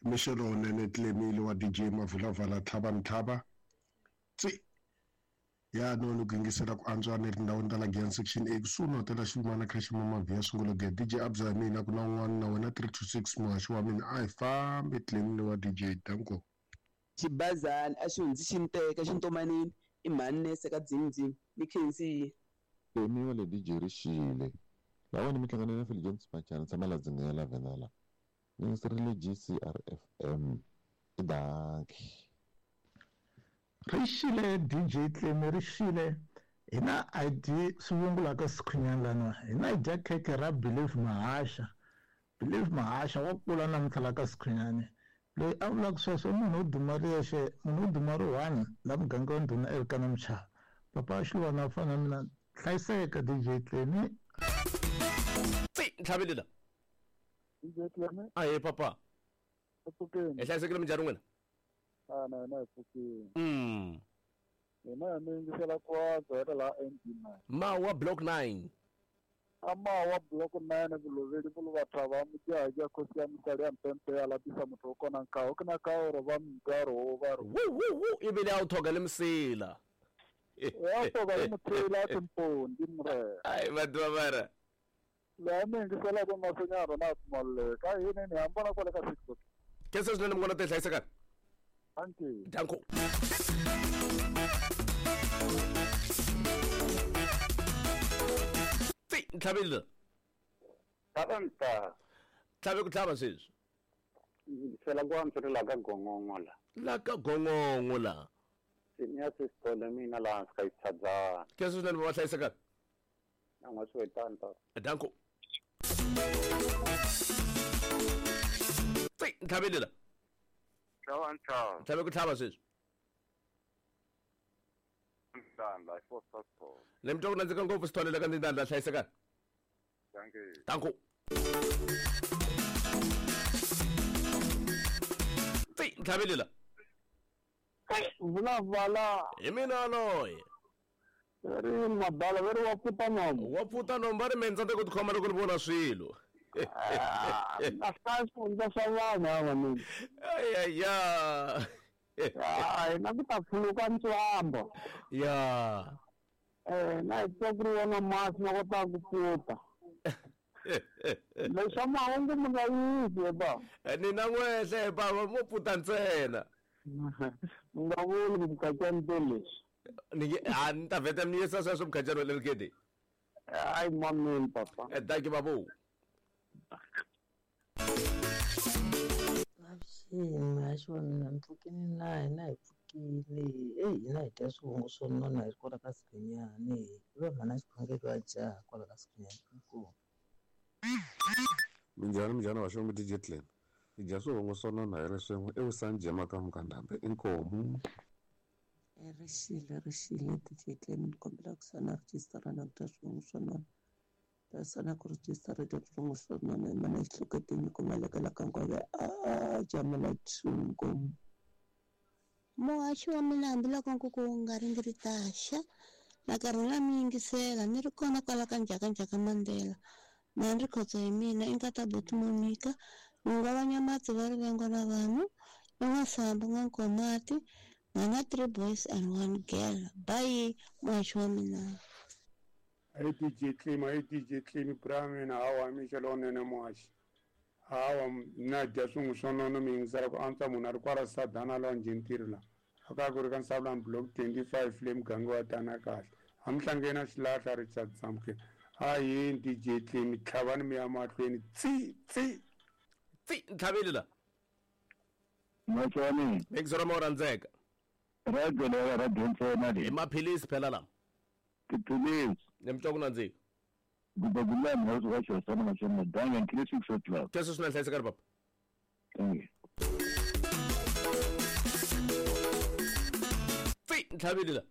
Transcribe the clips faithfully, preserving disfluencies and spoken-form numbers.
Mixo lowunene Tlemile wa D J Mavulavala Tlhava Ntlhava. Tsi ya no ku yingisela ku antswa ni tindhawini ta la Giyani section A kusuhi na hotela Xilumana kha Ximamavhiya sungula ge D J Abza ya mina ku na un'wana na wena three two six muhaxi wa mina a hi fambi Tlemile wa D J danko. Xibazana a xi hundzi xi ni teka xi ntomanini i mhani nese ka dzingdzing ni khensi. Temiwa le D J Rixile lawani mi hlangane na Phil Jones Machana tshama la dzingela vena la ni yingiserile G C R F M i danki. Rixile D J Tlemi rixile hina I D swivungu la ka Sikhunyana lana hina hi dya khekhe ra Believe Mahasha. Believe Mahasha wa kula namuntlha la ka Sikhunyana loyi a vulaka sweswo munhu wo duma ri yexe munhu wo duma ri one la muganga wa ndhuna Elkana Mchava papa wa Xilwana fana na mina hlayiseka D J Tlemi. Tsi ntlhavile la D J Tlemi ahe papa pfukeni hi hlayisekile minjhani n'wina? A na na hi pfukile. Mm. Hina mi yingisela ku antswa hi ri laha N D nine. Mawa block nine. A mawa block nine vuloveli vuluvathava mujaha khosi ya misali ya mpempe ya lapisa muthu wo kona nkaho ku na kaoro va minkarhi wo va ri wu wu wu ivi leyi a wu thoga le misila. Ya thoga le mutshila timpondi murena. Ai vanhu va mara. Laha mi yingiselaka masinyana na pfumaleka yini ni hambana kwale ka six o'clock. Khensa swinene munghana te hlayisekani. Thank you. Danko. Tsi ntlhavile. Tlhava Tlhave ku tlhava sweswi. Fela ku antswa ri la ka gongongo la. La ka gongongo la. Senior sister mina la hansi ka xitshadzana. Khensa swinene va hlayisekani. Na n'wa swi wetani ta. Danko. Tsi ntlhavile la. Tlhava ntlhava. Tlhave ku tlhava sweswi. Ndanda four four. Le mi twa ku nandzika ngopfu Sithole la ka Ndanda hlayisekani. Thank you. Danko. Tsi ntlhavile la. Vulavala. Hi mina loyi. Ri mabala va ri wa pfuta nombo. Wa pfuta nombo va ri me ni tsandzeka ku tikhoma loko ni vona swilo. A hlaya swifundza swa vanhu havanuna. Ayaya. Hayi na ku ta pfuluka ntswamba. Ya. Eh na hi twa ku ri wona masi ma kotaka ku pfuta. Leswa mahungu mi nga yivi ba. Ni na n'wehle bava mo pfuta ntsena. Mi nga vuli ku mukhatyani te leswi. Ni nge a ni ta vheta mi yisa sweswo mukhatyani wa le rikete. Hayi mameni papa. Danki babu. Avuxeni muhaxi wa mina mi pfukile na hina hi pfukile eyi hina hi dya swivungu swo nona hi ri kwala ka Sikhunyani i va mhana xikhongelo wa jaha kwala ka Sikhunyani inkomu. Minjhani minjhani vaxongo D J Tlem hi dya swivungu swo nona hi ri swin'we evusanjema jema ka mukandambe inkomu. Rixile rixile D J Tlem ni kombela ku sana rejistara na ku dya swivungu swo nona sana ku rejistara dya swivungu swo nona hi mana xihloketeni kumalekela ka nkove a jamela tshungu. Muhaxi wa mina hambiloko nkuku wu nga ri ndzi ri taxa na karhi na mi yingisela ni ri kona kwala ka Njhakanjhaka Mandela na ni ri khotso hi mina i nkata buti Monica n'winga va Nyamatsi va rivengo na vanhu i N'wasambu N'wankomati na three boys and one girl. Bye muhaxi wa mina. Hey D J Tlemi, hey D J Tlemi, bra mina hawa mixo lowunene muhaxi. Hawa na dya swin'we swo nona mi yingisela ku antswa munhu a ri kwala Sadana lawa Njhintiri la. A ka ku ri ka Nsavulani block twenty-five le muganga wa tana kahle. A mi hlangeni na xilahla Richard Samke. A yini D J Tlemi tlhavani mi ya mahlweni tsi tsi tsi ntlhavile la. Muhaxi wa mina. Bengizora mo rhandzeka. Radio leyi radio ntsena leyi. I maphilisi phela lama. Tiphilisi. Ni mi twa ku nandzika. Gubagulani house wa xosana machona danga three six o'clock. Kesho swi hlayiseka ri papa. Thank you. Tsi ntlhavile la.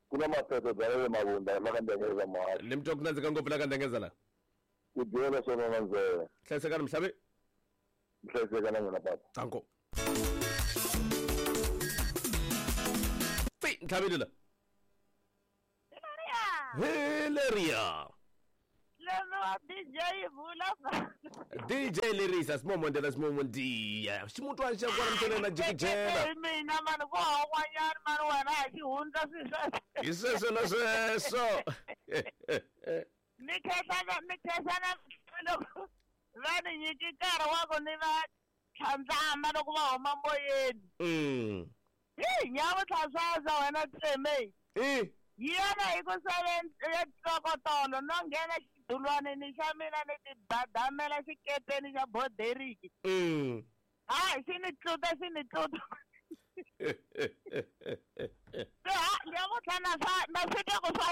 Ku na maphephe bya le Mavunda la ka Ndengeza muhaxi. Ni mi twa ku nandzika ngopfu la ka Ndengeza la. Ku dyela swona na ndzela. Hlayiseka ri mhlavi. Hlayiseka na n'wina papa. Danko. Tsi ntlhavile la. Hileria. Tlemiwa D J vula D J Lerisa simomo ndela simomo ndiya ximutwana xa kona mtene na jikijela mina mani ku hawanyana mani wena a xi hundza swi hi sweswo na sweswo ni khensana ni khensana loko va ni nyiki nkarhi wa ku ni va tlhandlama loko va huma moyeni mm hi nyamutlha swaza wena Tleme i yena hi ku seven ya tlokotolo no nghena xidulwanini xa mina ni tibadamela xikepeni xa boderiki mm hayi xi ni tluta xi ni tluta se ha nyamutlha na swa na swi twa ku swa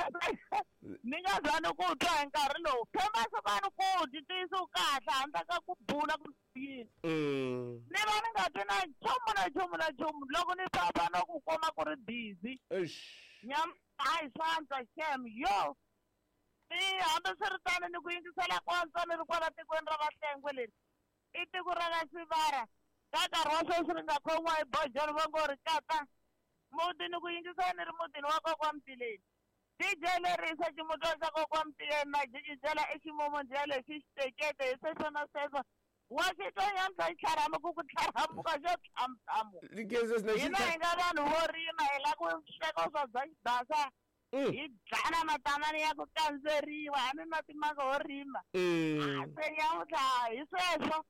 ni nga za ni ku twa hi nkarhi lowu phemasiku a ni ku dyi tiyisi kahle handle ka ku bula ku yini mm ni va ni nga twi na nchumu na nchumu na nchumu loko ni famba no ku kuma ku ri busy eish nyam hayi swa antswa xem yo i hambiswiritano ni ku yingisela ku antswa ni ri kwala tikweni ra Vahlengwe leri i tiko ra ka Sivara ka nkarhi wa sweswi ri nga khomiwa hi bojolo va ngo ri kata muti ni ku yingisela ni ri mutini wa kokwa Mtileni D J Lerisa ximutwana xa kokwa Mtileni na jikijela i ximomondiya lexi xitekete hi sweswo na sweswo wa xi twa nyamutlha xi tlharamu ku ku tlharamuka xo thamuthamu hina hi nga vanhu vo rima hi lava ku sweka swa bya xibasa hi dlana matamani ya ku kandzeriwa hambi matimanga ho rima se nyamutlha hi sweswo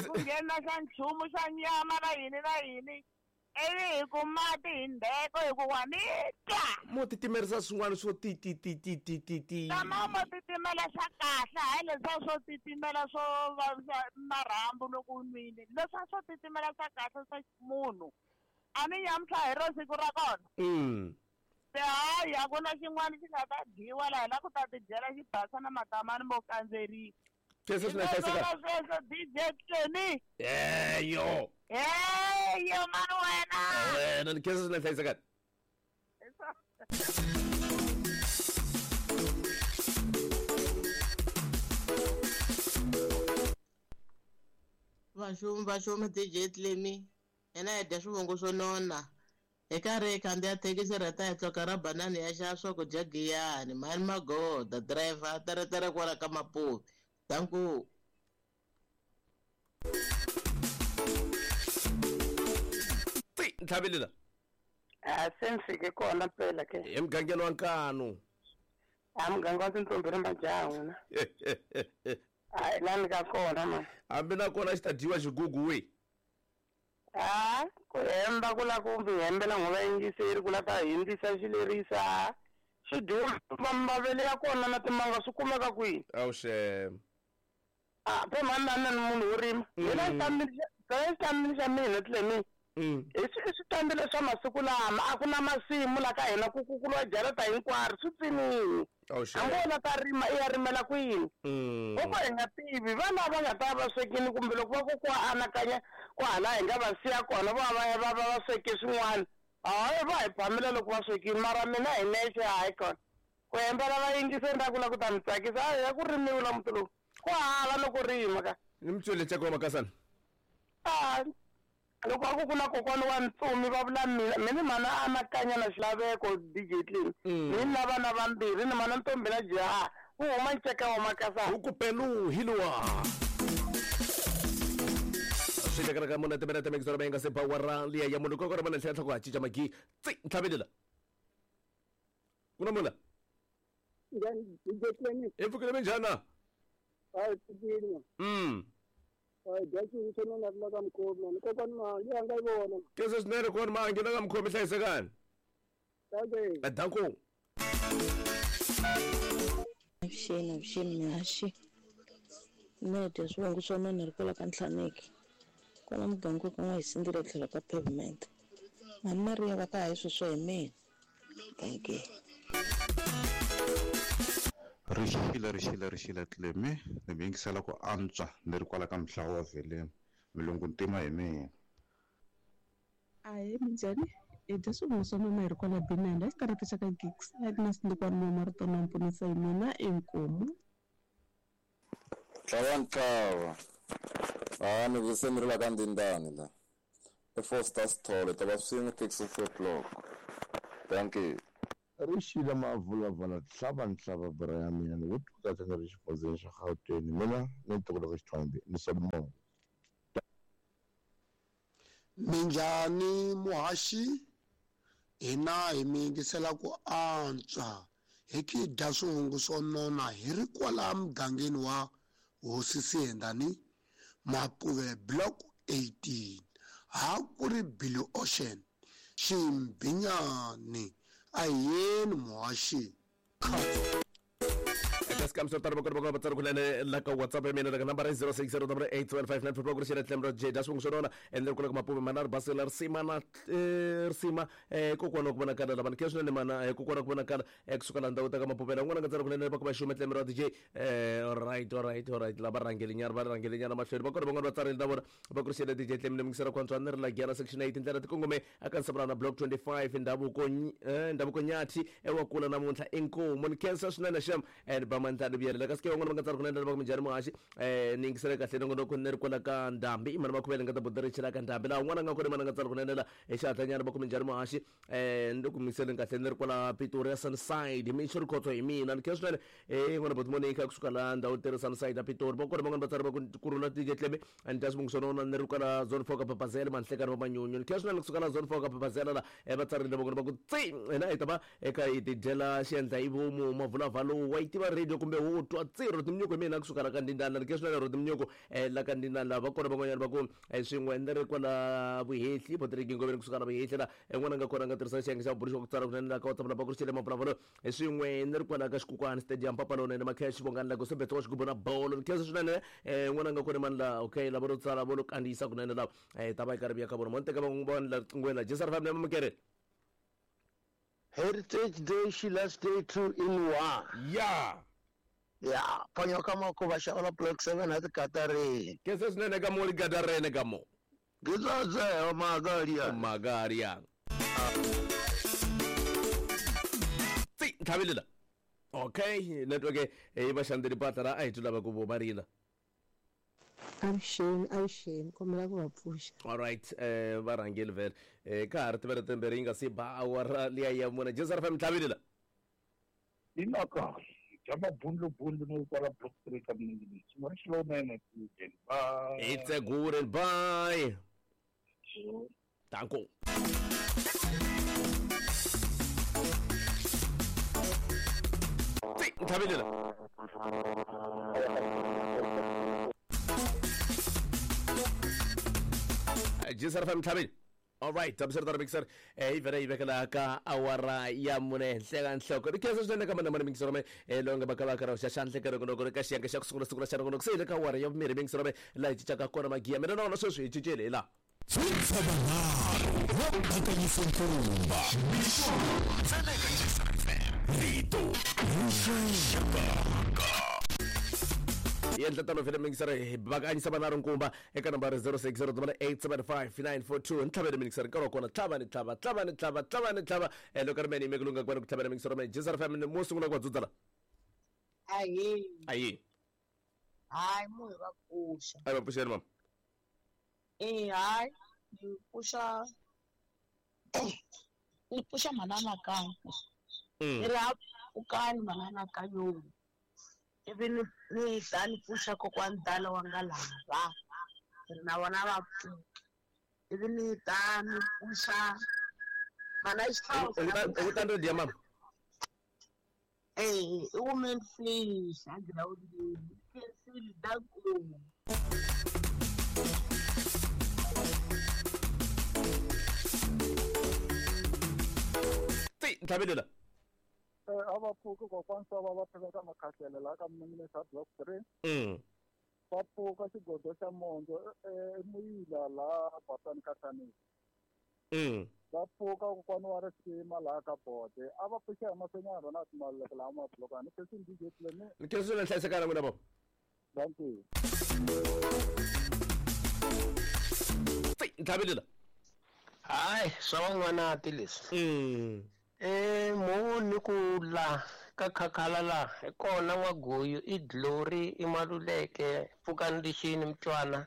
ku nghena xa nchumu xa nyama na yini na yini ivi hi ku mati hi ndheko hi ku wa ni twa mo titimerisa swin'wana swo ti ti ti ti ti ti ti tama mo titimela swa kahle hayi leswiya swo titimela swo vavisa marhambu loko u nwile leswiya swo titimela swa kahle swa munhu a ni nyamutlha hi ro siku ra kona mm se hayi a ku na xin'wana xi nga ta dyiwa laha hi la ku ta tidyela xibasa na matamani mo kandzeriwa sweswo swi na hlayiseka sweswo D J Tlemi eyo eyo mani wena wena ni khensa swi na hlayiseka Vaxumi vaxumi D J Tlemi hina hi dya swivongo swo nona hi karhi hi khandziya thekisi rheta hi tloka ra banani ya xava swakudya giyani mhani magoda driver teretere kwala ka Mapuve danku ti ntlhavelela a se ni fike kona mpela ke emugangeni wa Nkanu a muganga wa tintombi ri majaha n'wina hayi la ni ka kona ma hambi na kona xi ta dyiwa xigugu we a ku hemba ku la ku mi hembela n'we vayingiseri ku la ta hindzisa xilerisa swi dyiwa mavele ya kona na timanga swi kumeka kwihi awuxem a phe mhani na ni munhu wo rima mina xitambini xa mina Tlemi hi switambile swa masiku lama a ku na masimu la ka hina ku kukuliwa jarata hinkwaro swi tsinini hambi wo la ta rima i ya rimela kwini loko hi nga tivi vana va nga ta va swekini kumbe loko va kokwa anakanya ku hala hi nga va siya kona va va va va va sweke swin'wana hayi va hi phamela loko va swekini mara mina hi nexe hayi kona ku hembela vayingiseri ra ku la ku ta mi tsakisa hayi ya ku rimiwa la muti lowu ku hava loko rima ka ni mitswele tsako wa makasana a loko a ku ku na kokwana wa ntsumi va vula mina mina mana a anakanya na xilaveko D J Tlemi ni na vana vambirhi ni mana ntombi na jaha wu huma nceka wa makasana wu ku pelu hi luwa swi tekela ka muna timena timekisoro va nga se bawara liya ya munhu koko ri mana tlhela tlhoko ha cinca magi tsi ntlhavelela ku na mula Njhani D J Tlemi hi pfukile minjhani na hayi pfukile mm hayi dya xinhu xo nona la ka mukhomi mani kokwani ma yi a nga yi vona kese swinene kona ma nghena ka mukhomi hlayisekani okay danko avuxeni avuxeni mihaxi mina hi dya swivongo swo nona ri kwala ka Ntlhaneke kwala muganga ku nga hi sindzile tlhelo ka pavement mhani Maria va ka hayi sweswo hi mina thank you Rixile rixile rixile Tlemi ni mi yingisela ku antswa ni ri kwala ka mhlawa wa Vheleni milungu ntima hi mina Ahee minjhani hi dya swivongo swa nona hi ri kwala Benanda xiterata xa ka Gigs Agnes Ndukwana Marito na Mponisa hi mina inkomu Tlhava ntlhava a ni vise ni ri la ka Ndindani la i Foster Sithole ta va swin'we taxi four o'clock thank you Rixile mavulavala tlhava ntlhava bra ya mina ni ku twa ni ri xifundzeni xa Gauteng mina ni ntokoto ka Xithwambi ni Solomon. Minjhani muhaxi hina hi mi yingisela ku antswa hi ki dya swivungu swo nona hi ri kwala mugangeni wa Hosi Siyendani Mapuve block eighteen ha ku ri Blue Ocean Ximbinyani ayeni muhaxi. Scam sort of like WhatsApp mina la number zero six zero eight twelve five nine four progress tlemro J dash sona and then kula mapume manar basela sima na sima kokwana ku vonakala lava ke swinene mana kokwana ku vonakala kusuka la ndhawu ta ka mapupela n'wana nga tsara kunene va kuma xume tlemro D J eh all right all right all right lava rhangeli nyana va rhangeli nyana mahlweni va kona van'wana va tsarile na vona va kurixele D J tlemle mingisela kwantswa ni ri la Giyana section eight tindlela ti kongome aka Nsabrana block twenty-five ndhavuko ndhavuko nyathi ewa kula namuntlha inkomo ni khensa swinene xem and ba mandla vuyela ka sike van'wana va nga tsara kunene va ku minjhani muhaxi eh ni yingisele kahle nongonoko ni ri kwala ka ndhambi i mani makhuvele nga ta bodirixela ka ndhambi laha un'wana a nga kona mani a nga tsara kunene la hi xihatlanyana va ku minjhani muhaxi eh ni ku yingiseleni kahle ni ri kwala Pretoria Sunnyside mixo ri khotso hi mina ni khensa swinene eh n'wana boti Monica kusuka la ndhawu tirhi Sunnyside a Pretoria va kona van'wana va tsara va ku kurhula D J Tleme and dya swivungu swa nona ni ri kwala zone four ka Papazela manhlekani va manyunyu ni khensa swinene kusuka la zone four ka Papazela la va tsarile va kona va ku tsi hina hi ta va eka hi tidyela xiendla hi vomu mavulavalo wa yi tiva radio kumbe wo twa tsiro timnyuko mina kusuka la ka ndindana ni khensa swinene ro timnyuko la ka ndindana va kona van'wanyana va ku swin'we ni ri kwala vuhehli Patrick Ngoveni kusuka la vuhehli la n'wana nga kona nga tirhisa xiyenge xa vuburiso ku tsala kunene la ka WhatsApp la va ku rixele mavulavalo swin'we ni ri kwala ka Xikukwani Stadium Papalone ni Makhesh Vongani la ku sebetsa wa xigubu na bolo ni khensa swinene n'wana nga kona mani la okay lava ro tsala vo lo kandziyisa kunene lava ta va yi karhi vuya ka vona mo ni teka van'wana va la riqingweni la J S R five na mamukere. Heritage Day, Shila's Day two in one. Yeah. Yeah, panyoka mako va xava block seven at Katareni. Ke se swinene ka mo li Katareni ka mo. Ngizatse magaria. Magaria. Tsi tlhabelela. Okay, network e ba xandeli patla ra a hi lava ku vo marina. Avuxeni, avuxeni, kombela ku va pfuxa. All right, eh va rhangeli vhele. Eh ka ha ri tivere timbirhi yi nga si ba awara liya ya mune. J S R F M tlhabelela. Ina kahle. Bya mabundlubundlu no kwala block three ka mingi. Xin'wana xilonene ku bye. It's a good bye. Danko. Tlhabelela. J S R F M tlhabele. All right, I'm sorry mixer. Eh vele yi vekela ka awara ya mune hleka nhloko. Ri khensa swinene ka mana mana mixer me eh longa bakala ka xa xandle ka roko ka xiyenge xa ku sungula sungula xa roko se le ka awara ya vumbirhi mixer me la hi cinca ka kona magiya. Mina na wona sweswi hi cincile hi la. Yendla tano vele mixer hi bakanyisa vana nkumba eka nambara zero six zero eight seven five nine four two ntlhavele mixer nkarhi wa kona tlhava ni tlhava tlhava ni tlhava tlhava ni tlhava eh loko ri mene yime ku lunga ku tlhavela mixer me J S R F M mo sungula ku va dzudzala. Ayi. Ayi. Hayi mo hi va pfuxa. A va pfuxeni mama. Eh hayi ni pfuxa ni pfuxa manana ka. Ni ri ukani manana ka yo. Ivi ni ni ta ni pfuxa kokwani dala wa nga lava ri na vona va pfuka ivi ni ta ni pfuxa mana u ta radio mama. Eh i woman fish a girawundini khensile danko. Tsi ntlhabelela. A va pfuka kokwani swa va va pheka ka makhahlele laha ka minisa block three. Mm. Va pfuka xigodo xa mondzo emuyila laha Basani Katanisi. Mm. Va pfuka kokwani wa risima laha ka bode. A va pfuxa hi mahlweni ya rona timaleke laha mablokani. Ni khensa D J Tleme. Ni khensa swinene hlayisekana n'wina baba. Thank you. Tsi ntlhabelela. Hayi swa van'wana ti leswi. Mm. Eh mo ni ku la ka khakhala la hi kona n'waguyu i Glory i Maluleke pfukani lixini mtwana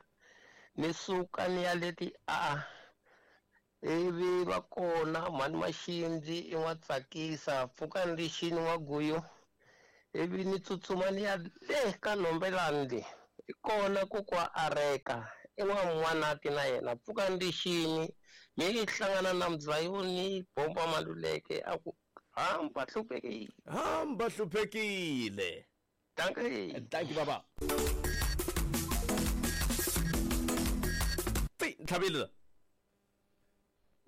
ni suka ni ya leti a Ivi va kona mhani Maxindzi i n'watsakisa pfukani lixini n'waguyu. Ivi ni tsutsuma ni ya le ka Nhombelani le. I kona kokwa Areka i n'wan'wanati na yena pfukani lixini mi yi hlangana na Mzayoni bomba Maluleke a ku hamba hluphekile. Hamba hluphekile. Dankie. Dankie baba. Ti ntlhavile.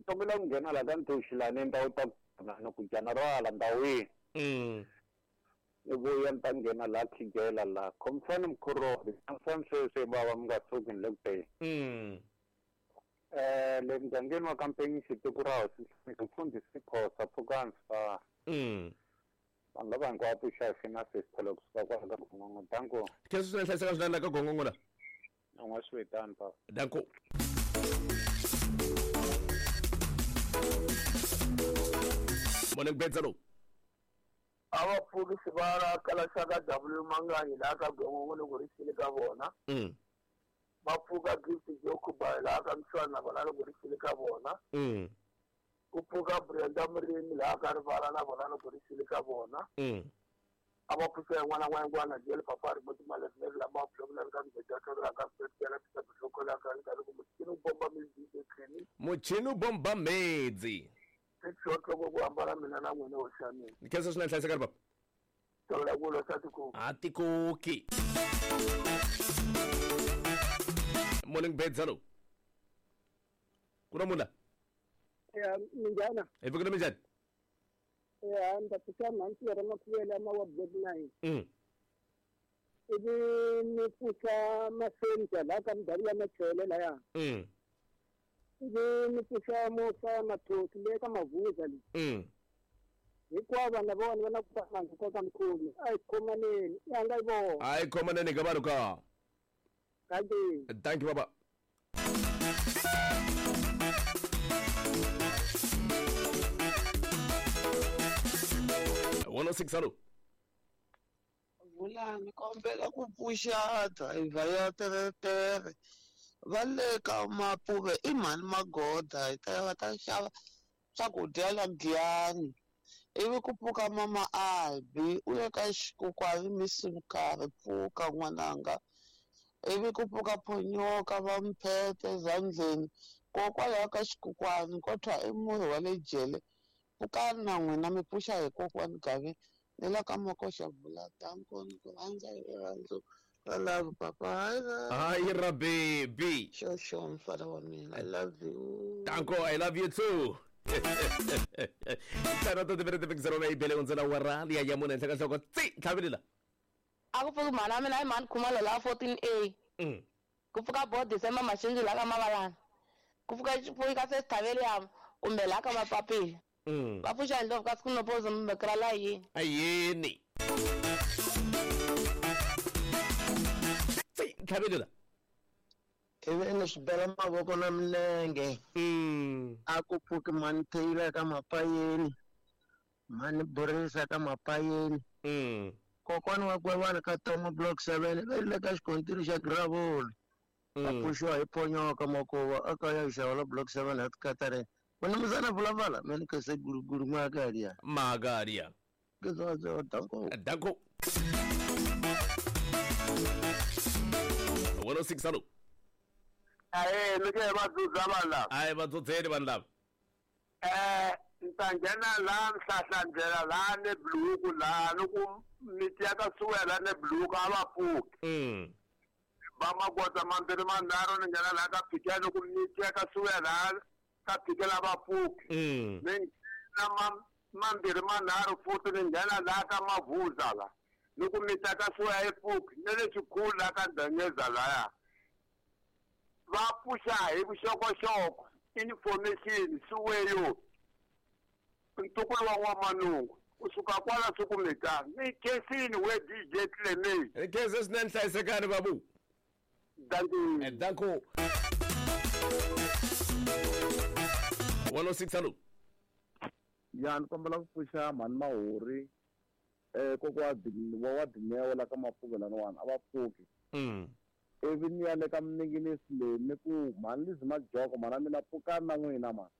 Kombela ku nghena la ka Ntoxilani ni ta u ta na ku jana rwala ndhawini. Mm. Ni vuya ni ta nghena la Khigela la khomfani mkhorori khomfani sweswi bava mi nga tshuki ni le ku teni. Mm. Eh le mugangeni wa Kampenisi tiko ra hosi mfundhisi Khosa pfukani swa. Mm. Vanhu lava hinkwavo pfuxa hi na sesithelo kusuka kwala ka Gongongo. Danko. Khensa swinene hlayiseka swinene la ka Gongongo la. U nga swi vitani papa. Danko. Morning Bedzalo. A va pfuki sivara kala xaka W Manganyi laha ka Gongongo loko ri xile ka vona. Mm. Va pfuka Gift Jokuba laha ka Mshwana na vona loko ri xile ka vona. Mm. Ku pfuka Brenda Murimi laha ka Rivala na vona loko ri xile ka vona. Mm. A va pfuxa yin'wana na yin'wana jele papa ri moti malembe lama pfuka ka mbedza ka ka ka ka ka ka ka ka loko muchini wu bomba midzi etlheni. Muchini wu bomba midzi. Xixotloko ku hambana mina na n'wina ho xa mina. Khensa swinene hlayiseka baba. Tsola ku losa tikoki. A tikoki. Morning Bedzalo. Ku na munhu la? Ya minjhana. Hi pfukile minjhani? Ya ni ta pfuxa mhani Pierre Makhuvele ma wa block nine. Mm. Ivi ni pfuxa Masenja laha ka Mudali ya Machele laya. Mm. Ivi ni pfuxa Musa Mathosi le ka Mavuza le. Mm. Hinkwavo vanhu lavawani va na ku fana ka mukhomi. A hi khomaneni, i hanga yi vona. A hi khomaneni ka vanhu ka. Thank you. Thank you baba. one oh six hello. Vulani kombela ku pfuxa driver ya teretere va le ka Mapuve i mhani Magoda hi ta va ta xava swakudya la Giyani ivi ku pfuka mama Albi u le ka xikokwani misimukarhi pfuka n'wananga ivi ku pfuka Phonyoka va Mphethe zandleni kokwalaho ka xikokwani kodwa i murhi wa le jele pfukani na n'wina mi pfuxa hi kokwani Gavi ni la ka Makoxa vula danko ni ku rhandza hi rirhandzu ra love papa hayi ra baby xo mfana wa mina I love you danko I love you too tana to tivere tivekisero na ibele unzela warali ya yamuna enhla ka nhloko tsi tlhavelela a ku pfuki mhani wa mina i mhani Khumalo laha fourteen A mm. ku pfuka bo December Maxindzi laha ka Mavalana ku pfuka pfuka se Thaveliam kumbe laha ka Mapapila mm. va pfuxa ndlovu ka siku nopozo mbekela la yini ayini tsi tlhavelela ivi ni swi bela mavoko na milenge a ku pfuki mhani Taylor ka Mapayeni mhani Borisa ka Mapayeni kokwani wa Kwevana ka Tomo block seven va le ka xikontiri xa Gravula va pfuxiwa hi Phonyoka Makuva a ka ya xava la block seven at Katarina wena muzana vulavala mina ke se guruguru magaria magaria ke zo danko danko one oh six hello aye ni ke va dzudza vanhu lava aye va dzudzeni vanhu lava eh ni ta nghena laha Nhlahlandlela laha ne Buluku laha ni ku miti ya ka Suwela ne Buluku a va pfuki mm. va magoza mambirhi manharhu ni nghena laha ka Phikela ni ku miti ya ka Suwela ka Phikela va pfuki mm. ni nghena mambirhi manharhu futhi ni nghena laha ka Mavuza la ni ku miti ya ka Suwela yi pfuki ni le Xikhulu laha ka Ndanyeza laya va pfuxa hi vuxokoxoko information siweyo ntukulu wa n'wamanungu kusuka kwala sukumeta ni khensini we D J Clement ni khensa swinene hlayisekani babu danko danko one oh six hello ya ni kombela ku pfuxa mhani Mahori eh kokwa wa wa Dineo la ka Mapuve laniwani a va pfuki mm. ivi ni ya le ka Mninginisi leyi ni ku mhani Lizzy Majoko mhana mina pfukani na n'wina mhani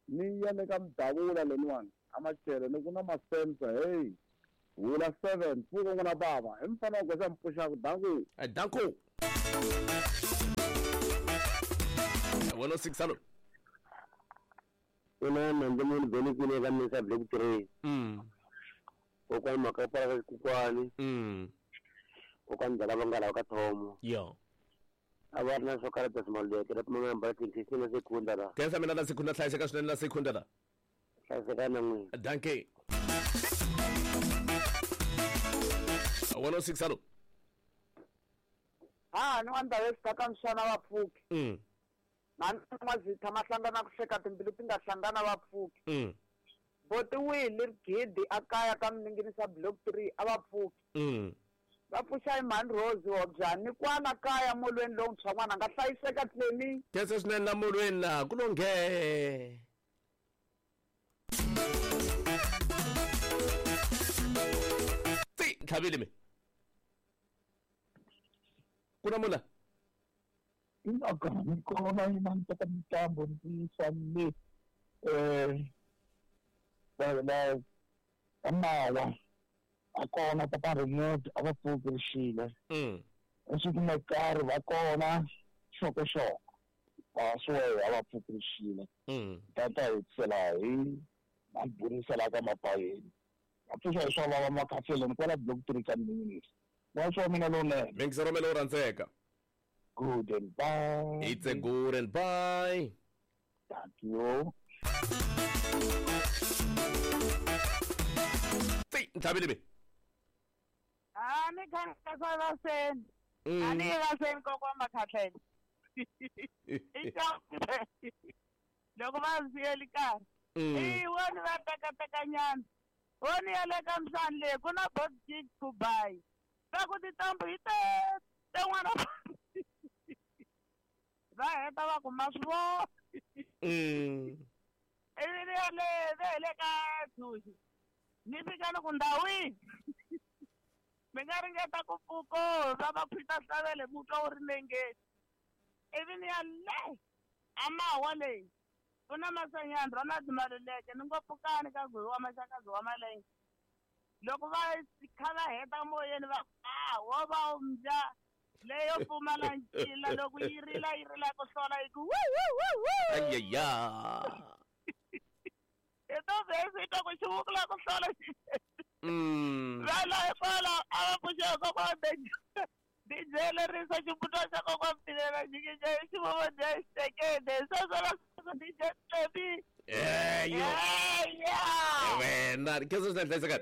Ni ya le ka Mdavula leniwani a Machele ni ku na masensa hey hula seven pfuka n'wana bava hi mfana wa goza mpfuxaka danku danku one oh six hello Ina nandzu munhu beni kule ka misa block three mm kokwani makapara ka kokwani mm kokwani ndala va nga lava ka thomo yo a va ri na swo karata swimaleke la pfumala mbala tlinkisi na sekunda la khensa mina la sekunda hlayiseka swinene la sekunda la hlayiseka na n'wina danke one oh six hello ha ni wa ndhawu ka mxana va pfuki mm mani mazitha ma hlangana ku hleka timbilu ti nga hlangana va pfuki mm boti wihi leri gidi a kaya ka miningirisa block three a va pfuki mm va pfuxa hi mhani Rose Hobyani kwala kaya molweni lowuntshwa n'wana nga hlayiseka tleni khensa swinene la molweni laha ku longhe ti tlhavile mi ku na mula Ina kona ina ntaka mitambo ndzi le eh la la amawa akona papa remote a va pfuki rixile mm esiku makarhi va kona xokoxoko va swo a va pfuki rixile mm tata hi tsela hi maburisela ka mapayeni va pfuxa hi swa vava makhaseleni kwala block three ka minutes wa swa mina lowunene mingisero mele u rhandzeka good and bye it's a good and bye thank you ti ntlhavile mi a ni khansa vaseni a ni vaseni kokwa makhatlele i loko va siyeli karhi i woni va tekatekanyana woni ya le ka mhlani leyi ku na bot gig ku bayi va ku tintambu hi te tin'wana va heta va ku ma swi vona ivi ni ya le ve le ka thuxi ni fika ni ku ndhawini mi nga ringeta ku pfuko va va phita hlavele mutwa wu ri nengeni ivi ni ya le amawa leyi ku na masanyana Ronald Maluleke ni ngo pfukani ka gwiwa wa maxakazi wa malenge loko va kha va heta moyeni va a wo va mbya leyo pfumala ncila loko yi rila yi rila ku hlola yi ku wu wu wu wu ayaya hi to vhesi yi twa ku xivukula ku hlola mm va la kwala a va pfuxa kokwa D J lerisa ximbuto xa kokwa Mtilela xikixa xivovo dya xitekede sweswo la D J Tlebi eyo wena khensa swinene hlayiseka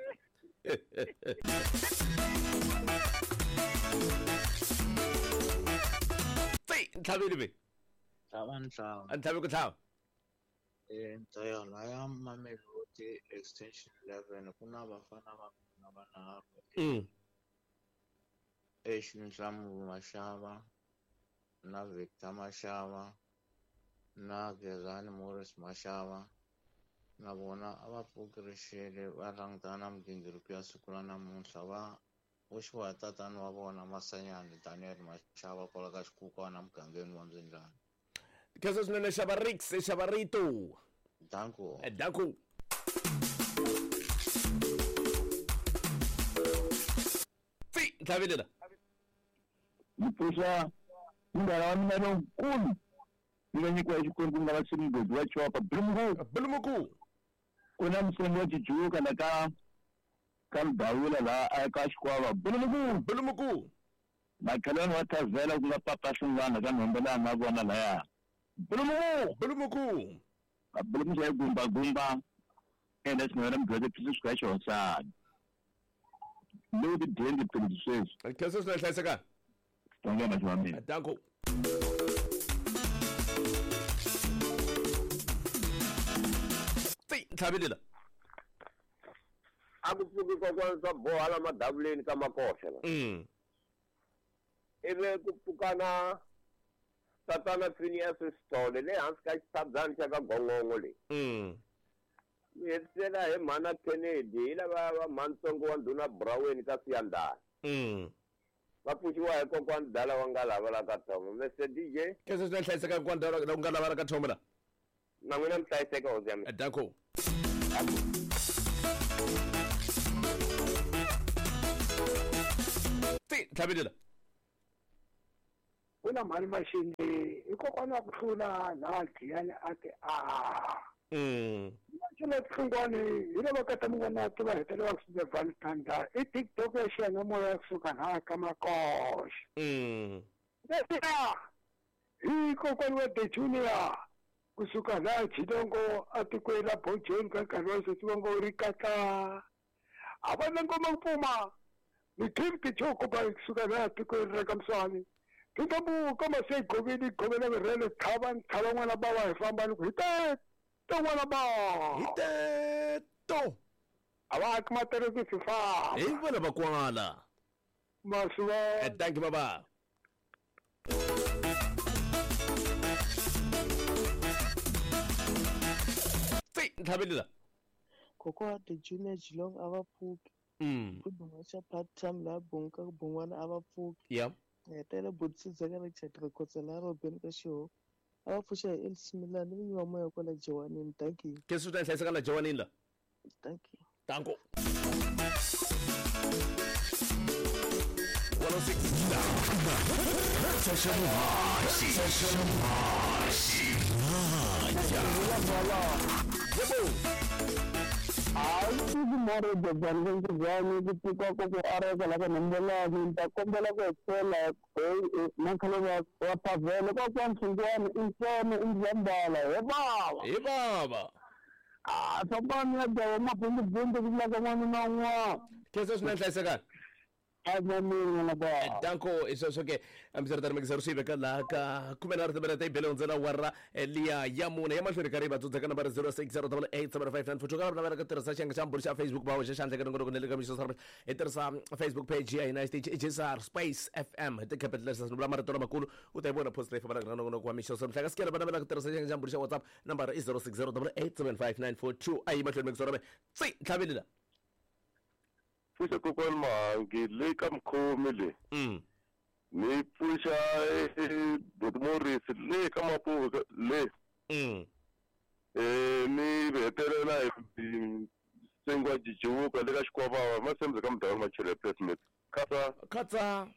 ti ntlhavile mi tlhava ntlhava a ntlhavi ku tlhava eh ntoyo laya Mamelodi extension eleven ku na vafana va mina vanharhu mm Nhlamulo Mashava na Victor Mashava na Gezani Morris Mashava na vona a va pfuki rixile va langutana na migingiriko ya siku ra namuntlha va hoxiwa hi tatana wa vona Masanyani Daniel Mashava kwala ka xikukwana mugangeni wa Mzindlana khensa swinene xava Rix xava Rito danko danko ti ntlhavile la ni pfuxa munghana wa mina lonkulu ni nga nyikiwa xikwembu nga va ximugodi wa chopa bulumuku bulumuku ku na musongi wa tijuka la ka ka Mdawula laha ka Xikwava bulumuku bulumuku makhelwani wa Thavela ku nga papa Hlungwana ka Nhombelani na vona laya bulumuku bulumuku bulumuku ya gumba gumba ende xin'wana mugwede phisi swi ka xihosana lowu ti dyeni tipilisi sweswi khensa swinene hlayiseka tongena xi wa mina danko ti ntlhavile la a ku pfuki kokwana swa boha la madavuleni ka makoxa la mm ivi ku pfukana tatana Phineas Sithole le hansi ka xitshabyani xa ka Gongongo leyi mm mi hetisela hi mhana Kennedy hi lava va mhantsongo wa ndhuna Braweni ka Siyandhani mm va pfuxiwa hi kokwani Dala wa nga lava la ka Thomo Mister D J khensa swinene hlayiseka kokwani Dala wa nga lava la ka Thomo la Na n'wina mi hlayiseka hosi ya mina. Danko. Ti tlhavelela. Ku na mhani Maxinde i kokwana wa ku hlula laha Giyani a ti a. Mm. Xana tlhungwani hi lava ka ta ti va hetelela ku swi Valentine i TikTok ya xiyanimoya kusuka laha ka Makoxa. Mm. Leswiya hi kokwana wa The Junior kusuka laha Jilongo atikweni ra Bojeni ka nkarhi wa sweswi va ngo ri katla. A va na ngoma ku pfuma ni gift choko ba kusuka laha tikweni ra ka Mswani. Tintambu ka mase govini govela virele thava nthava n'wana ba wa hi famba ni ku hi te to n'wana ba. Hi te to. A va aki matereke swi famba. Hi vona va kwala. Masuva. Thank you baba. Ti tlhavelela. Kokwa The Junior Jilong a va pfuki. Mm. Ku dunga part time laha Bonga Bongwana a va pfuki. Yeah. Hetela Botsitsa ka Richard Rikhotsa laha Robin ka Xiho. A va pfuxa hi Elsie Milani ni wa moya kwala Jowanini. Thank you. Ke swi ta hlayiseka la Jowanini la. Thank you. Danko. one oh six. Yebo. Hayi kumare jabani njani ku pfuka ku ku areka la ka nambelani ni ta kombela ku etlela na khale wa wa pavele kwa kwa mfungwani insone inzambala he baba he baba ah fambani ya dawa mabundu bundu ku la ka n'wana na un'wana kese swi na nhlayiseka Danko isweswo ke hambiswiritano mekisa ri swi veka laha ka khume nharhu timinete yi bele hundzela wara liya ya mune ya mahlweni ka ri va tsundzuka nambara zero six zero double eight seven five nine four two ka lava navelaka ku tirhisa xiyenge xa mbhuri xa Facebook va hoxa xandla ka nongonoko na le ka mixo hi tirhisa Facebook page ya hina xitichi i J S R Space F M hi ti-capital letters ni vula marito lamakulu u ta yi vona post leyi fambelaka na nongonoko wa mixo mhla ka sikela va navelaka ku tirhisa xiyenge xa mbhuri xa WhatsApp nambara i zero six zero double eight seven five nine four two a yi mahlweni mekisa rame tsi tlhaveli la. Pfuxa kokwani Mahangi le ka mukhomi le. Mm. Ni pfuxa Buti Morris le ka Mapuve le. Mm. Eh ni hetelela hi Sengwa Jijiwuka le ka Xikwavava masembe ka mudhawu Machele Placement. Khatsa. Khatsa.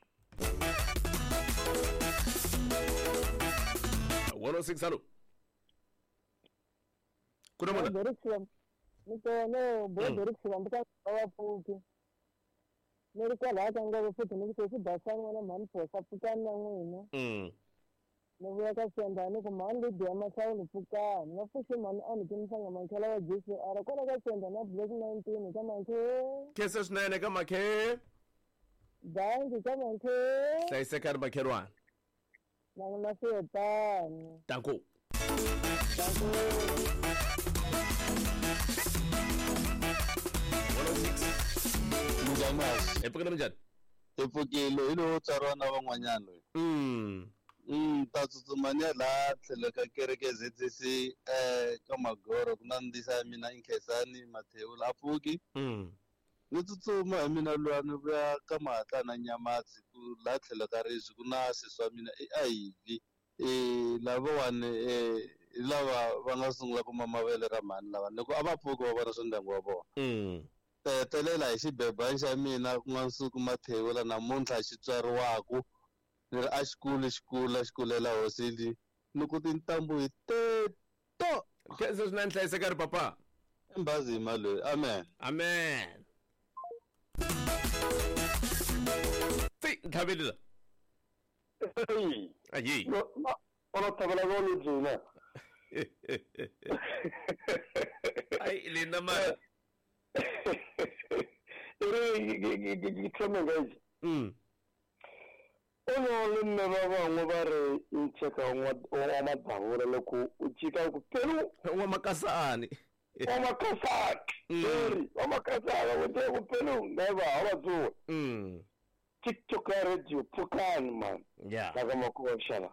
one oh six hello. Kuna mona. Ni kona bo direction ka va pfuki. Ni ri kwalaha ka ngove futhi ni ku swi basani n'wana mhani phosa pfukani na n'wina. Mm. Ni vuya ka Senda ni ku mhani Lydia Mahlawuli pfukani va pfuxe mhani a ni timisanga makhela wa J C R kwala ka Senda na Black nineteen ka makhe. Kese swinene ka makhe. Danki ka makhe. Hlayisekani makhelwani. Na na swihetani. Danko. Danko. Hi pfukile minjhani? Hi pfukile hi lowo tswariwa na van'wanyana loyi. Mm. Mm, ta tsutsuma ni ya laha tlhelo ka kereke Z C C eh ka Magoro ku na ndisa ya mina Inkhensani Mathewula a pfuki. Mm. Ni tsutsuma hi mina luya ni vuya ka Mahatla na Nyamatsi ku laha tlhelo ka Rizwi ku na sesi wa mina i Ivy. Eh lavawani eh hi lava va nga sungula ku mama vele ra mhani lava loko a va pfuki va vona swa ndyangu wa vona. Mm. Hetelela hi xibebani xa mina ku nga Nsuku Mathewula namuntlha xi tswariwaku ni ri a xikulu xikulu xi kulela hosi li ni ku tintambu hi teto. Kese swinene hlayisekani papa. Mbazima loyi. Amen. Amen. Ti tlhavelela. Ayi. No no ona thavela go le dzina. Ai lina ma. Ere ke thome guys. Mm. Ono le mme ba bangwe ba re ncheka wa madavula loko u chika ku pelu wa makasani. Wa makasani. Eri wa makasani wa te ku pelu neva ha ba tsuwa. Mm. TikTok radio pfukani man. Yeah. Ka makoxala.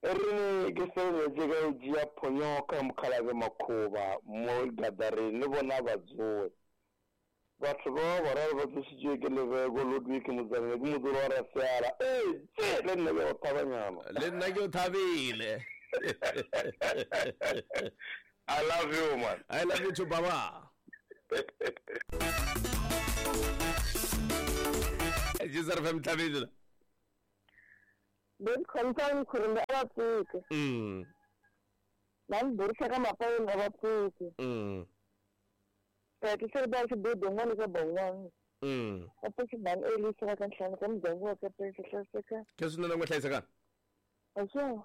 Eri ke sele jeka jia phonyoka mukhalave makhuva mo gadarini ni vona va dzuwe. Batho ba bararo ba tsositšwe ke lebeko Ludwig Mozambique ke modiro wa Rasiala. Ee, tse le nna ke o thabanyana. Le nna ke o thabile. I love you, man. I love you too, baba. Jizar fm tlabile. Ben khontsang khurumbe a va pfuke. Mm. Na ni burisa ka mapayeni a va pfuke. Mm. Ti ba xi budu n'wana ka bon'wana. Mm. A pfuki mani elisa va ka nhlanu ka muganga wa ka pesa hlayiseka. Ke swinene n'we hlayisekani. Axo.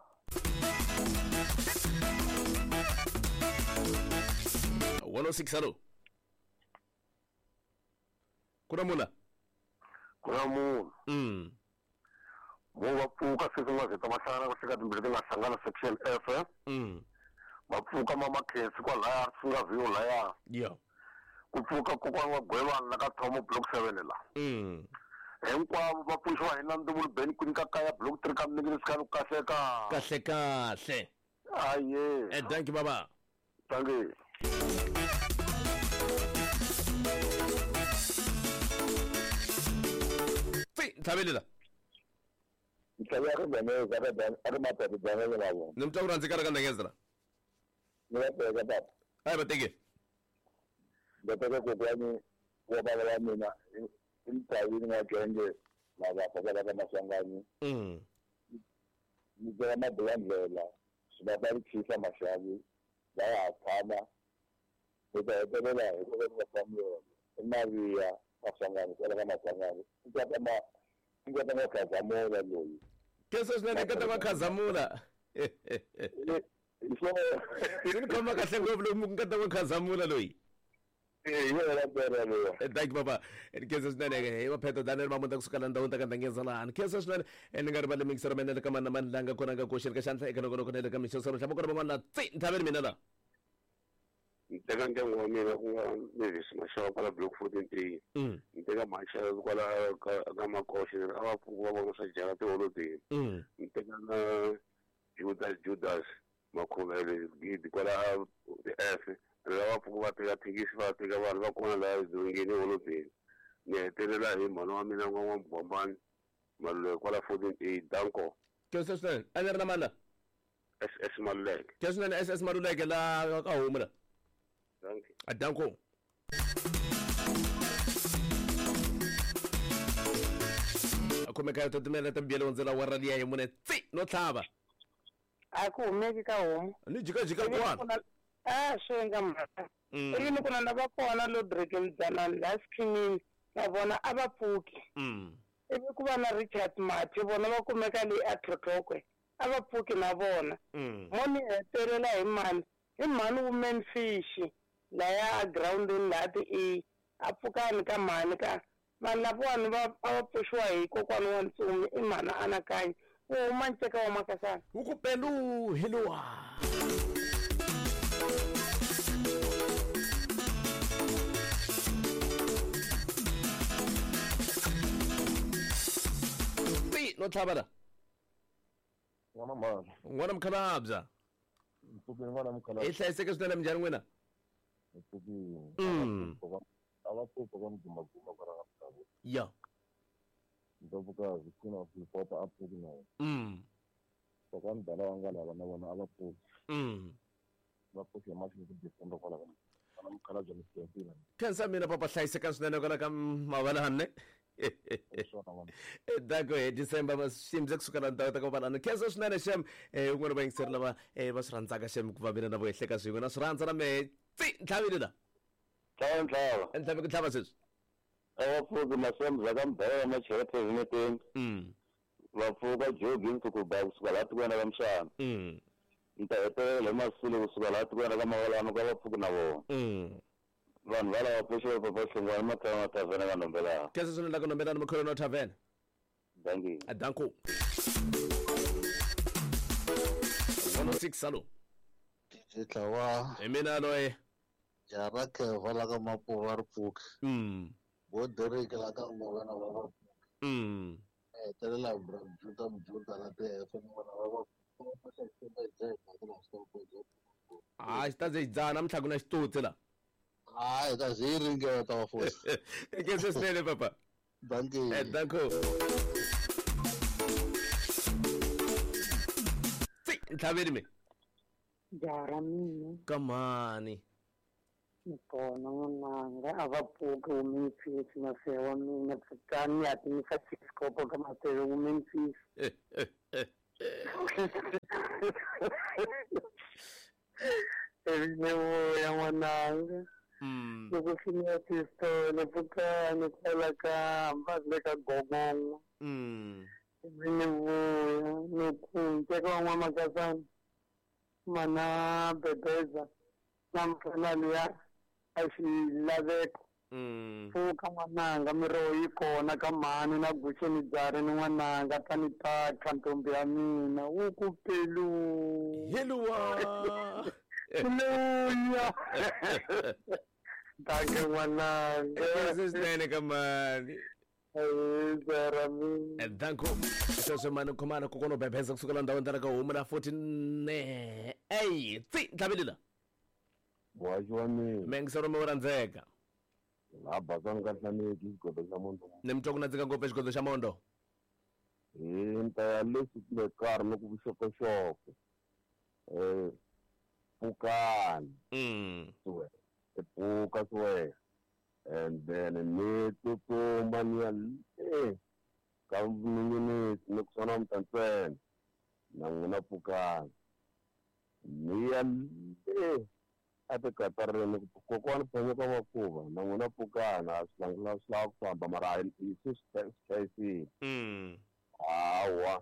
one oh six hello. Ku na mula. Ku na munhu. Mm. Mo va pfuka sweswi nga zeta mahlangana ku hleka timbirhi ti nga hlangana section F. Mm. Va pfuka mama Khensi kwalaya swi nga vhiyo laya. Yeah. Ku pfuka kokwana wa Gwevana la ka Thomo block seven la. Mm. Hinkwavo va pfuxiwa hi Nandumulu Ben ku nyika kaya block three ka Mningini Sikhalo kahle ka. Kahle kahle. Aye. Eh thank you baba. Thank you. Tsi tlhabele la. Ntlhabele ka Ndengeza ka Dan a ri mapete Daniel na vona. Ni mutwa ku rhandza ka Ndengeza la. Ni va teka baba. Hayi va teke. Ndzi teka kokwani wa baba wa mina i mutawini wa genge lava kwala ka Maswanganyi. Mm. Ni teka mabulandlela swi va va ri khisa maxavi va ya ha tshama hi ta hetelela hi ku va Samuel i Maria Maswanganyi kwala ka Maswanganyi i ta ma i ta ma Khazamula loyi. Kesa swinene ka ta ma Khazamula. Swi ni khoma kahle ngopfu loko ku nga ta ma Khazamula loyi. Thank you baba. Kesa swinene hi va Pheto Daniel Mamunta kusuka la ndhawini ta ka Ndengeza lahani. Kesa swinene ni nga rivali mixer mina le ka mani na mani la nga kona nga koxeni ka xandla eka nongonoko na le ka mixo swa hlamba kona van'wana la tsi nthaveni mina la. Ni teka ndyangu wa mina ku nga Mavis Mashava kwala block fourteen A. Mm. Ni teka Mashava kwala ka ka Makoxe a va pfuka va vona swa jala tiholodeni. Mm. Ni teka na Judas Judas Makhuvele gidi kwala F. Lava pfuka va teka thekisi va teka vanhu va kona laha dzongeni holobeni. Ni hetelela hi mhana wa mina n'wa N'wa-Bombani Maluleke kwala fourteen A Danko. Kesa swinene a ni ri na mani la? S S Maluleke. Kesa swinene S S Maluleke la ka homu la. Thank you. A Danko. A khomeka to timela ta mbuyelo ndzela wa raliya hi mune tsi no tlhava. A ku humeki ka homu. Ni jikajika kwana. Ah, swi nga mhaka. Ivi ni ku na va kona lo Dragon Dzanani la Sikhinini na vona a va pfuki. Mm. Ivi ku va na Richard Mathe vona va kumeka le a Tlhotlhokwe a va pfuki na vona. Mm. Mo ni hetelela hi mani hi mhani Woman Fish laya a groundini laha ti E a pfukani ka mhani ka vanhu lavawani va a va pfuxiwa hi kokwana wa Ntsumi i mhani Anakanyi wu huma nceka wa Makasana. Wu ku pelu hi luwa. No tlhava la. N'wana mhani. N'wana mukhalabya. Mpfukeni n'wana mukhalabya. I hlayiseke swinene minjhani n'wina? Mpfukeni. Mm. A va pfuka va mugumaguma kwala ka Mutavo. Ya. Ndlovukazi Queen of Lipota a pfuki na yena. Mm. Kokwani Dala wa nga lava na vona a va pfuki. Mm. Va pfuki hi mahlweni ku December kwala ka n'wana mukhalabya ni Siyasile. Khensa mina papa hlayiseka swinene kwala ka Mavalane. Dako hi December ma ximze kusuka la ndhawu ta ka Mavalane. Khensa swinene xem eh un'wana va yingiseri lava eh va swi rhandzaka xem ku va mina na vo ehleka swin'we na swi rhandza na mehe tsi ntlhavile la. Tlhava ntlhava. Ntlhavi ku tlhava sweswi. A va pfuki Masemza ka Mbhela Machela President. Mm. Va pfuka Joe Gibbs ku ba kusuka laha tikweni ra Mshana. Mm. Ni ta hetelela hi Masule kusuka laha tikweni ra Mavalane ka va pfuki na vona. Mm. Vanhu va lava pfuxiwa papa Hlongwane Matlhava Tavern ka Nhombelani. Khensa swinene la ka Nhombelani Mkholo no Tavern. Thank you. A danko. one oh six salo. Tlawa. Hi mina loyi. Ya ra Keva la ka Mapuva ri pfuki. Mm. Vo Derek la ka Morena va va pfuki. Mm. Hetelela bra Juda Mjuda la T F na vona va va Ah, xi ta ze dzaha namuntlha ku na xitutsi la. Hayi ta ze yi ringeta wa fosi. Khensa swinene papa. Thank you. Eh danko. Tsi ntlhaveni mi. Jaha ra mina. Kamani. Ni kona n'wananga a va pfuki women fish mafeya wa mina pfukani ya timisa chiskopo ka mafeya women fish. Ivi ni vuya n'wananga. Loko swi ni ya tistolo pfukani kwala ka hambasi le ka gogongo. Ivi ni vuya ni ku nteka wa n'wamakasana mana bebeza na mfana luya a xilaveko. Pfuka n'wananga miroho yi kona ka mhani na guxe ni byari ni n'wananga tani taka ntombi ya mina wu ku pelu. Heluwa. Luya. Danke n'wananga. Swinene ka mhani. Danko sweswo mani khomana kokwana u bebeza kusukela ndhawini ta ka homu la forty eight tsi ntlhavelela. Muhaxi wa mina. Mengisero mi rhandzeka. La basani ka hlaneki xigodo xa mondo. Ni mi twa ku nandzika ngopfu xigodo xa mondo. Hi ni ta ya leswi ku le karhi ni ku vuxokoxoko. Eh pfukani. Mm. Pfuka swe. And then ni tsutsuma ni ya le ka minute ni ku sona mtantsena na n'wina pfukani. Ni ya le a tikatareni kokwana phanyeka makuva na n'wina pfukana a swi langula swi lava ku famba mara a hi se swi hlayisile. Hawa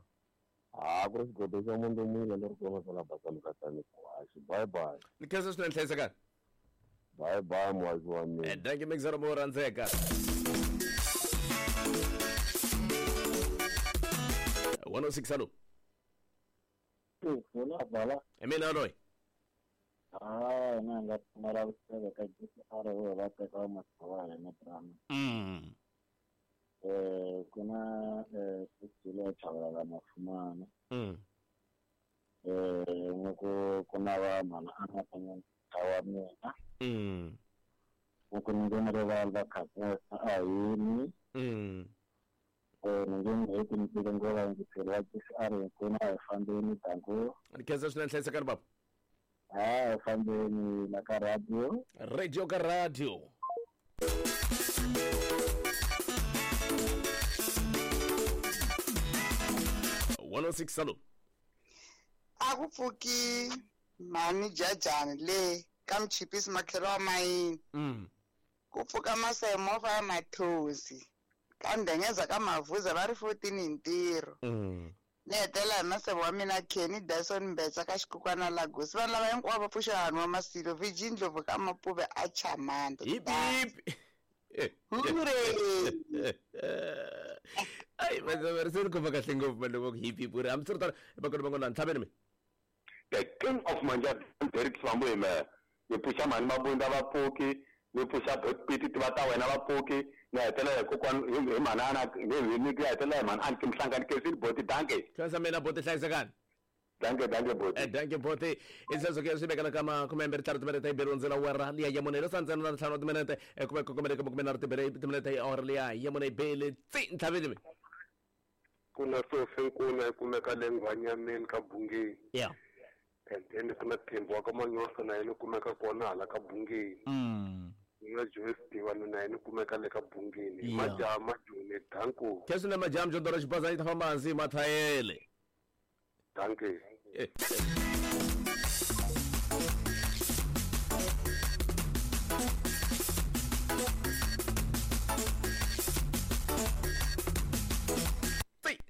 a ku ri xigodo xa munhu mina ni ri kona kwala basani ka tani kwaxi. Bye bye. Ni khensa swinene hlayisekani. Bye bye muhaxi wa mina. Dankie mixero mo rhandzeka. one oh six hello. I mina loyi. Ah, na nga pfumala ku tiva ka G C R wo va teka matsawa ya na drama. Mm. Eh ku na eh Sisile Chabalala Mafumana. Mm. Eh ngoko ku na va mana a nga tanya wa mina. Mm. Ngoko ni ngene ri va va khasa a yini. Mm. Eh ni ngene hi ku ni ngo va ndzi phela G C R ku na hi fambeni danko. Ni khensa swinene hlayisekani baba. Ah, fambeni la ka radio. Radio ka radio. one oh six hello. A ku pfuki mhani jajani le ka mchipisi makhelo wa mayini. Mm. Ku pfuka masemovha ya mathosi. Ka ndengeza ka mavuza va ri fourteen hi ntirho. Mm. Ni hetela hi maseve wa mina Kenny Dyson Mbetsa ka xikukwana Lagos. Vanhu lava hinkwavo va pfuxa hanhu wa Masilo Virgin Ndlovu ka Mapuve a Chamanda. Hip hip. Hooray! Ai mazaveri se ni khoma kahle ngopfu mani loko hip hip uri hambiswiritano vakona van'wana ntlhaveni mi. The king of manja Derek Swambo hi mehe. Ni pfuxa mhani Mabunda va pfuki, ni pfuxa Piti tiva ta wena va pfuki, ni hetelela hi kokwana hi manana ni ni hetelela hi mhani Anki Mhlangani Kesini boti danke. Khensa mina boti hlayisekani. Danke danke boti. Eh danke boti. Isezwo ke swi vekela ka makume mbirhi ntlhanu timinete yi beriwe ndzela wera liya ya mune lo sandzena na ntlhanu wa timinete kumbe kumbe kumbe na tibere timinete yi awara liya ya mune yi bele tsi ntlhaveni mi. Ku na Sofi Nkuna yi kumeka le Nghwanyameni ka Bungeni. Yeah. And then ku na Thembu wa ka Manyosa na yena kumeka kona hala ka Bungeni. Mm. Na Joyce Divana na yena kumeka le ka Bungeni. Majaha majoni danko. Khensa na majaha mjondoro xibaza yi ta famba hansi mathayele. Danke.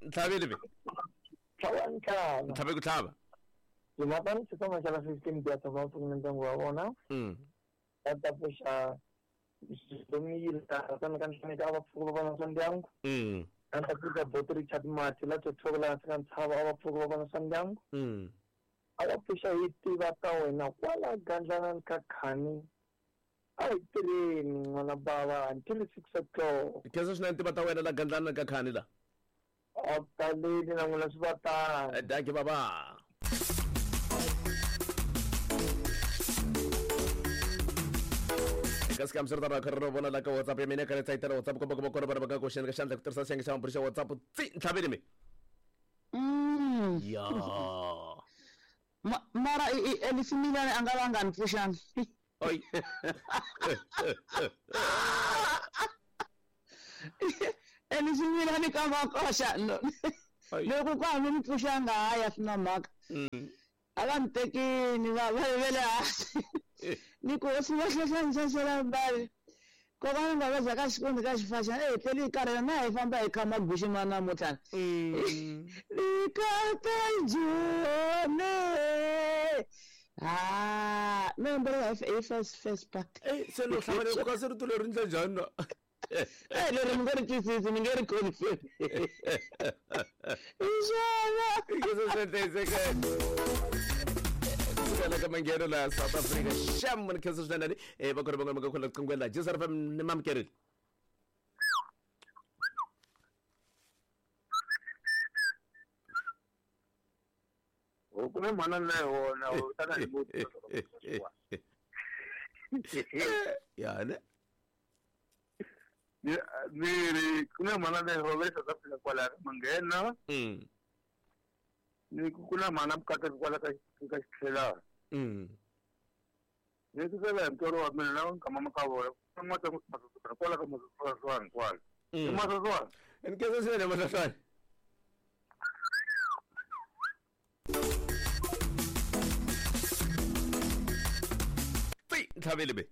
Ntlhaveni mi. Tlhava ntlhava. Ntlhave ku tlhava. Timhaka ni xitsonga xa la fifteen ti ya tshama pfuki ndyangu wa vona. Mm. Va ta pfuxa Domiyile ka Nhlaneka a va pfuki va vona swa ndyangu. Mm. A ta pfuka Boti Richard Mati la Tsotsoko la hansi ka ntshava a va pfuki va vona swa ndyangu. Mm. A va pfuxa hi tiva ta wena kwala gandlana ka khani. A hi tirheni n'wana bava until six o'clock. Khensa swinene tiva ta wena la gandlana ka khani la. A taleni na n'wina swi va tano. Danke baba. Kasi kam sir tara kharo vona la ka WhatsApp ya mina ka letsa itela WhatsApp komba komba kona vana va ka koxeni ka xandla ku tirhisa xiyenge xa maburi xa WhatsApp tsi ntlhaveni mi. Mm. Ya. Mara Elisimilani a nga va nga ni pfuxangi. Oi. Elisimilani ka makoxa loko ku a mi ni pfuxanga hayi a swi na mhaka. A va ni tekini va va vele hansi. Ni ku hosi va hlohla mbali. Kokwana nga va ka xikundi ka xifaxa eh tleli hi karhele na hi famba hi kha maguxi ma namuntlha. Likata jone. Ah, me mbele hi first first part. Eh se lo hlamale ku ka se rito leri ndla njhani na? Eh leri mi nge ri twisisi mi nge ri confirm. Inshallah. Ka mangheno la South Africa xam ni khensa swinene eh va kona van'wana va nga khona qingweni la J S R F M ni mamukerile. O ku na mhana na yona u tana hi muthu ya ne ni ni ku na mhana na yona South Africa kwala manghena mm ni ku na mhana mukata kwala ka ka xitlhela. Mm. Ni ku sela mtoro wa mina na nkama makavona ku ta ku kwala ka masoswana kwala. Mm. Masoswana. Ni khensa swinene masoswana. Tsi ntlhavele be.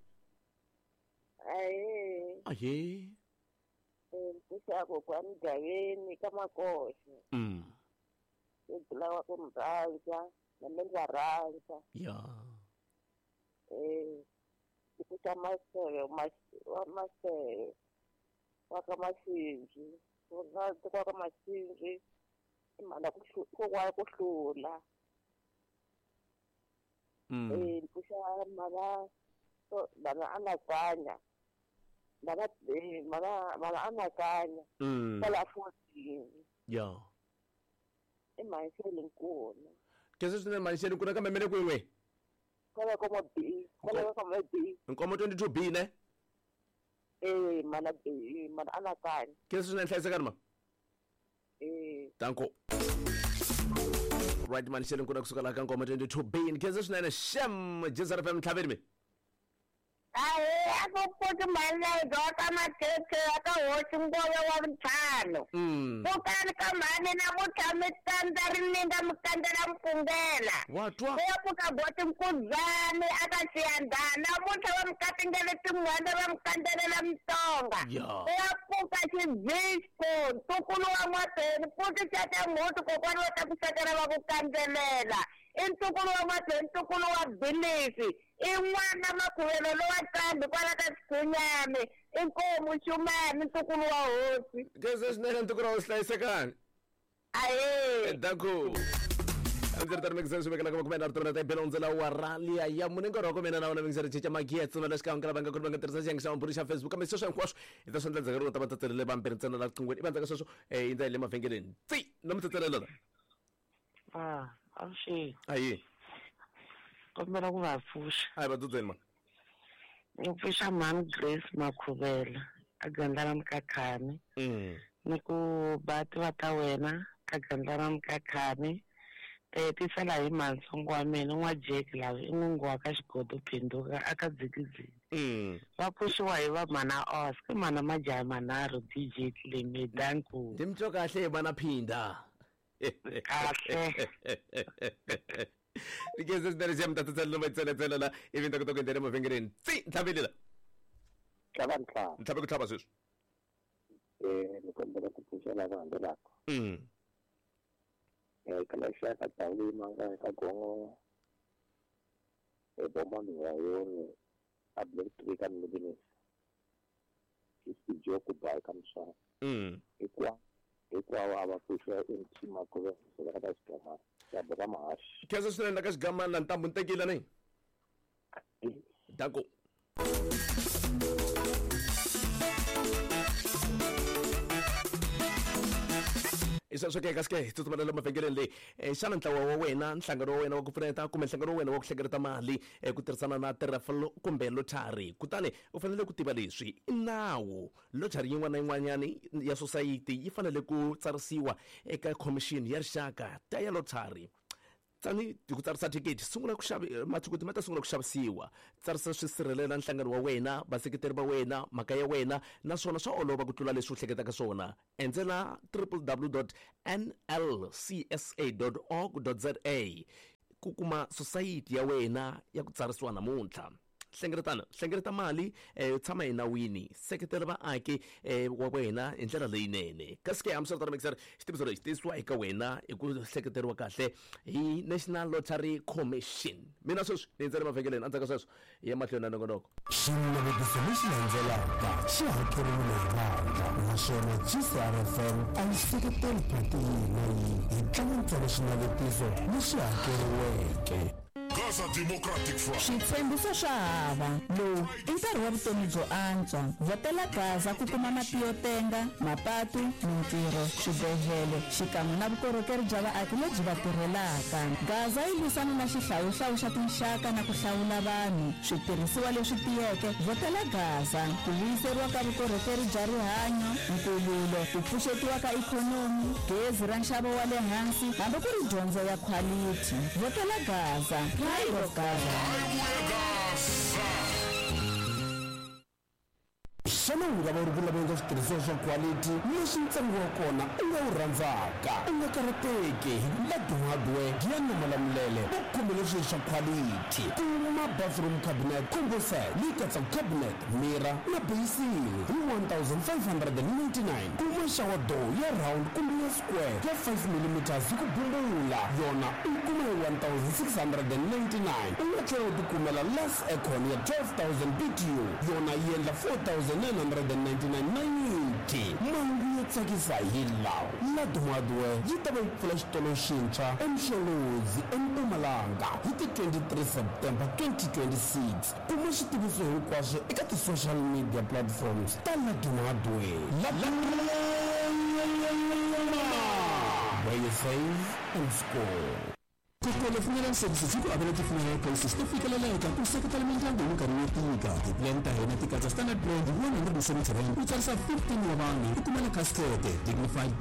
Aye. Aye. Mpfuxa kokwani Gaveni ka Makoxa. Mm. Ku ku mi rhandza na me ndza rhandza. Ya. Eh ku ta maseve wa maseve wa ka Masinji wa ka Masinji i mhana ku kokwana ku hlula. Mm. Eh mpfuxa mana mana anakanya mana mana mana anakanya Mm. kwala fourteen. Ya. I Manxele nkuna. Khensa swinene Manxele nkuna kambe mele kwin'we. Kwala ka B, kwala ka B. Nkomo twenty-two B ne? Eh mana B, mana anakanya. Khensa swinene hlayisekani ma. Eh. Danko. Right Manxele nkuna kusuka la ka Nkomo twenty-two B. Khensa swinene Shem J S R F M ntlhaveni me. Ahe a ku pfuki mhani leyi ka mathethe ya ka hosi ngove wa ntlhanu. Pfukani ka mhani namuntlha mi tsandza rininga mi kandzela mpfungela. Wa twa. Ku ya pfuka boti Nkuzani a ka Xiyandhana namuntlha va mi katingele tin'hwanda va mi kandzelela Mitsonga. Ku ya pfuka Xibisco ntukulu wa N'wapeni pfuki xa mhuti kokwana va ta ku sekela va ku kandzelela. I ntukulu wa N'wapeni ntukulu wa Bilisi. I n'wana Makhuvelo lowa Nqambi kwala ka Xikhunyani i nkomu Xumani ntukulu wa hosi. Khensa swinene ntukulu wa hosi hlayisekani. Ahe. Danko. A ndzi ri tani mixer swi vekela ka makume nharhu timina ta bela hundzela wa rali ya mune nkarhi wa ku mina na wona mixer cinca magiya tsuna la xikan'we ka lava nga ku va nga tirhisa xiyenge xa mabulu xa Facebook kambe sweswo hinkwaswo hi ta swi endla ndzhaku ka ta va tsetselele vambirhi ntsena la qingweni i va ndzhaku sweswo eh yi ndza hi le mavhengeleni tsi na mi tsetselela la. Ah, avuxeni. Ayi. Kombela ku va pfuxa. Hayi va dzudzeni ma. Ni pfuxa mhani Grace Makhuvela a Gandlana Mkhakhani. Mm. Ni ku bati va ta wena ka Gandlana Mkhakhani. Eh tisela hi mansongo wa mina n'wa Jack lava i n'wingi wa ka Xigodo Phinduka a ka Dzikidziki. Mm. Va pfuxiwa hi va mana Oscar mana majaha manharhu D J Cleme danku. Ndi mtwa kahle hi mana Phinda. Kahle. Nikeze swinene xa mi ta tsetselela va tseletselela la ivi ni ta kota ku endlela emavhengeleni tsi ntlhaveli la. Tlhava ntlhava. Ntlhave ku tlhava sweswi. Eh ni kombela ku pfuxa lava landzelaka. Mm. Eh ka xaka Tawuli manga ka Gongo. Eh bomba mi wa yoni a Black Tree ka Middle East. Joku ba ka Mswana. Mm. Hikuva hinkwavo a va pfuxiwa M T Makhuvelo ka Xigama. Ya mahaxi. Khensa swinene ka Xigamana la ntambu ni tekile ni. Danko. I sweswo ke kasi ke hi tsutsumela lomu mavhengeleni leyi xana ntlawa wa wena nhlangano wa wena wa ku pfuneta kumbe nhlangano wa wena wa ku hlengeleta mali ku tirhisana na tirafelo kumbe lottery kutani u fanele ku tiva leswi i nawu lottery yin'wana na yin'wanyani ya society yi fanele ku tsarisiwa eka commission ya rixaka ta ya lottery Tsani hi ku tsarisa thikithi sungula ku xavi mathikithi ma ta sungula ku xavisiwa. Tsarisa swi sirhelela nhlangano wa wena, vaseketeri va wena, mhaka ya wena, naswona swa olova ku tlula leswi u hleketaka swona. Endzela w w w dot n l c s a dot org dot z a ku kuma sosayiti ya wena ya ku tsarisiwa namuntlha. Hlengeletana, hlengeleta mali, eh, tshama enawini, seketela vaaki eh, wa wena hi ndlela leyinene. Kasi ke hambiswiritano mixer, xitiviso lexi tisiwa eka wena hi ku hleketeriwa kahle hi National Lottery Commission. Mina sweswi ni endzela mavhengeleni, endzhaku ka sweswo hi ya mahlweni na nongonoko. Xinavetiso lexi landzelaka xi hakeriwile hi vandla, naswona G C R F M a yi seketeli phati yihi na yihi hi tlanga ntsena xinavetiso lexi hakeriweke. Gaza Democratic Front. Switshembiso swa hava. Lowu i nkarhi wa vutomi byo antswa. Vhotela Gaza ku kuma mati yo tenga, mapatu, mintirho, swibedhlele, xikan'we na vukorhokeri bya vaaki lebyi va tirhelaka. Gaza yi lwisana na xihlawuhlawu xa tinxaka na ku hlawula vanhu. Switirhisiwa leswi tiyeke, vhotela Gaza. Ku vuyiseriwa ka vukorhokeri bya rihanyo, nkululo, ku pfuxetiwa ka ikhonomi, gezi ra nxavo wa le hansi, hambi ku ri dyondzo ya khwalithi. Vhotela Gaza. Pride of Gaza. Xana u nga va u ri ku laveni ka switirhisiwa swa quality leswi ntsengo wa kona u nga wu rhandzaka? U nga karhateki hi ku Ladum Hardware ya Namalamulele va khomele swilo swa quality. Kuma bathroom cabinet combo set leyi katsaka cabinet, mirror na basin hi one thousand five hundred and ninety-nine. Kuma shower door ya round kumbe ya square ya five millimeters hi ku bumbula, yona u yi kuma hi one thousand six hundred and ninety-nine. U nga tlhela u tikumela less aircon ya twelve thousand B T U, yona yi endla four thousand nine hundred and ninety-nine ninety. Mahungu yo tsakisa hi lawa. Ladum Hardware yi ta va yi pfula xitolo xintshwa eMsholozi eMpumalanga hi ti twenty-three September twenty twenty-six. Kuma xitiviso hinkwaswo eka ti-social media platforms ta Ladum Hardware. Where you save and score. Kokolo Funeral Services yi ku avela ti-funeral policies to fikeleleka ku seketela mindyangu hi minkarhi yo tika. Ti-plan ta hina ti katsa standard plan hi one hundred and seventy rand ku tsarisa fifteen wa vanhu ku kuma na casket, dignified